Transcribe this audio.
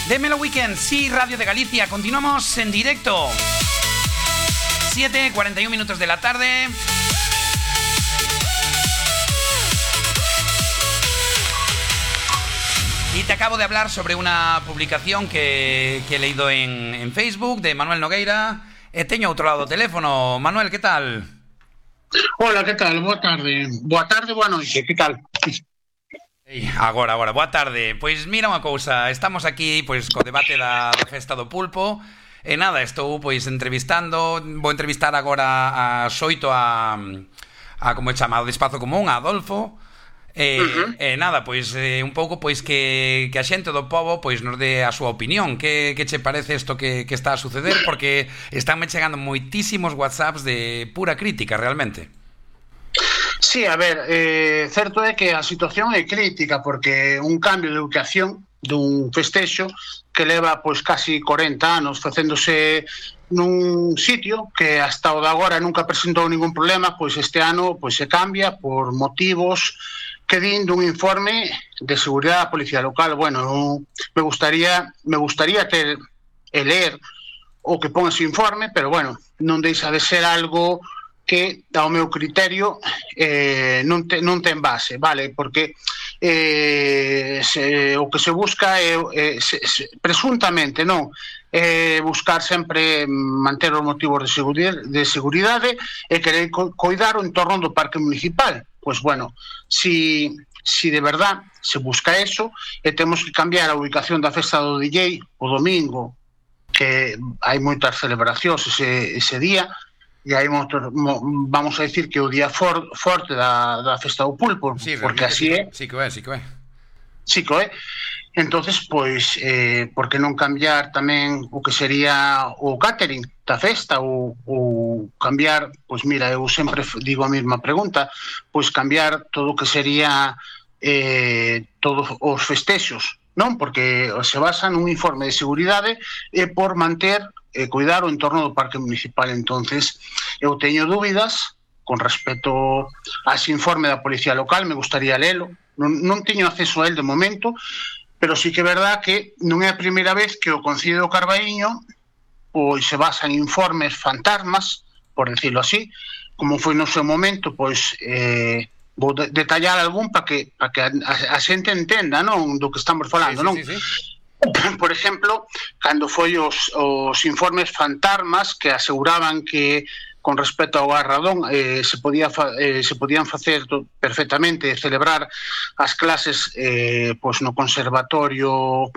Démelo Weekend, sí, Radio de Galicia. Continuamos en directo. 7:41 minutos de la tarde. Y te acabo de hablar sobre una publicación que he leído en Facebook de Manuel Nogueira. Teño outro lado do teléfono. Manuel, que tal? Hola, que tal? Boa tarde. Boa tarde, boa noite, que tal? Agora, boa tarde. Pois mira unha cousa, estamos aquí pois co debate da festa do pulpo. E nada, estou pois entrevistando, vou entrevistar agora a Xoito a como é chamado, de Espazo Común, a Adolfo. Nada, pois un pouco pois que a xente do pobo pois nos dé a súa opinión. Que che parece isto que está a suceder? Porque estánme chegando moitísimos WhatsApps de pura crítica, realmente. Sí, a ver, certo é que a situación é crítica porque un cambio de ubicación dun festexo que leva pois casi 40 anos facéndose nun sitio que hasta o de agora nunca presentou ningún problema, pois este ano pois se cambia por motivos que din dun informe de seguridade da Policía Local. Bueno, me gustaría ter e ler o que pon ese informe, pero bueno, non deixa de ser algo que, ao meu criterio, non ten base, vale? Porque o que se busca é, presuntamente, non, buscar sempre manter os motivos de seguridade e querer coidar o entorno do parque municipal. Pois, bueno, si de verdad se busca eso e temos que cambiar a ubicación da festa do DJ o domingo, que hai moitas celebracións ese día, e aí vamos a decir que o día forte da festa do pulpo, sí, porque así é. Sí que é. Sí que é. Entonces, pois, por que non cambiar tamén o que sería o catering da festa ou cambiar, pois mira, eu sempre digo a mesma pregunta, pois cambiar todo o que sería todos os festexos, non? Porque se basa nun informe de seguridade por manter e cuidar o entorno do parque municipal. Entonces, eu teño dúbidas con respecto a ese informe da Policía Local, me gustaría lelo, non teño acceso a él de momento, pero sí que é verdad que non é a primeira vez que o Concello do Carballiño pois se basa en informes fantasmas, por decirlo así, como foi no seu momento, pois vou detallar algún para que a xente entenda, non, do que estamos falando, non? Sí. Por exemplo, cando foi os informes fantasmas que aseguraban que con respecto ao Garradón se podían facer perfectamente celebrar as clases pois no conservatorio